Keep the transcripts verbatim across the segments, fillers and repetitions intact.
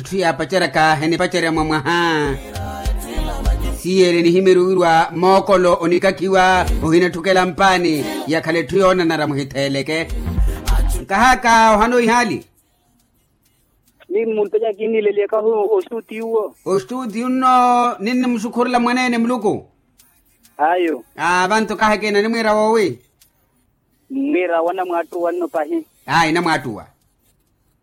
Etthu yaapaceryaka enipacerya mwa mwaha. Siyeele nihimyerya owirwa mookolo onikakhiwa, ohinatthukela mpaani. Yakhala etthu yoonanara muhitheeleke. Nkahaka ohana ohihaali. Ni mulupelya kinnileliyakahu ostuutiyu nno. Ninnimusukhurela mwaneene muluku. Ayo. Aa vantu kahaka enanimwiira woowi. Mwiira wanamwaattuwa nno pahi. Ayi namwaattuwa.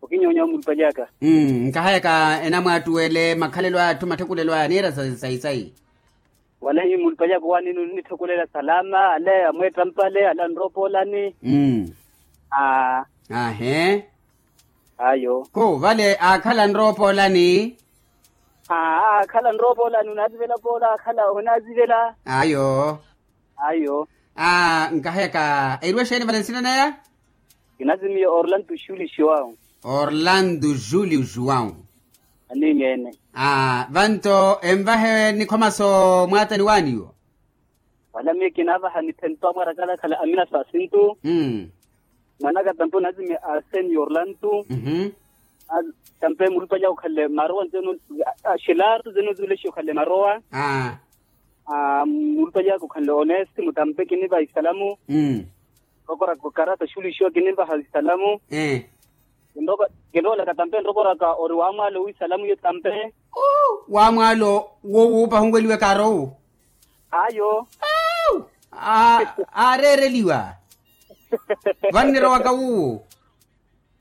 Okinyonyowa mulupelyaka. Nkahayaka enamwaattuwele makhalelo a atthu matthekulelo aya niira sayi sayi. Wala hi mulupelyaka owanini onitthukulela salama ale amweettampale ale anroopolani. Aa. Ahe. Ayo. Ko vale aakhala anroopolani. Aa aakhala anroopolani onaazivela poola aakhala onaazivela. Ayo. Ayo. Aa nkahayaka eriwa exeeni vale nsina naya? Kinazimiya orlando julio joão. Orlando julio joão. Aniimeene. Aa vanto envahe nikhomaso mwaatani waaniwo. Wala miyo kinaavaha nithento amwarakala akhala amina sasintu. Mwanaka tampe onazimiya arseni orlando. Tampe mulupalya okhalle marowa nzeno. Xilartu nzeno nzulexiya okhalle marowa. Mulupalya okhalle onesti mutampe kinivaha isalamu. Rokoraka okarata xuluxiwa kinivaha isalamu. Kinrokolaka tampe nrokoraka ori wamwaalo wisalamu iyo tampe. Wamwaalo wo wuupa hunweliwe kaaro wu. Ayo. Aareereliwa. Vannirowaka wuwo.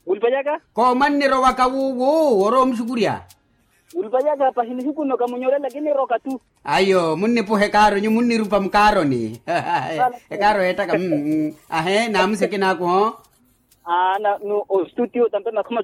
Mulupalya ka. Ko mwannirowaka wuwo orowa omuxukurya. Mulupalya ka pahi nihiku nno kamunyorela kiniroka tu. Ayo munnipuhe kaaro nyu munnirupa mukaaroni. Ekaaro yeettaka. Ahe naamusi akinaaku ho. Aana no ostuutiyo tampe makhuma.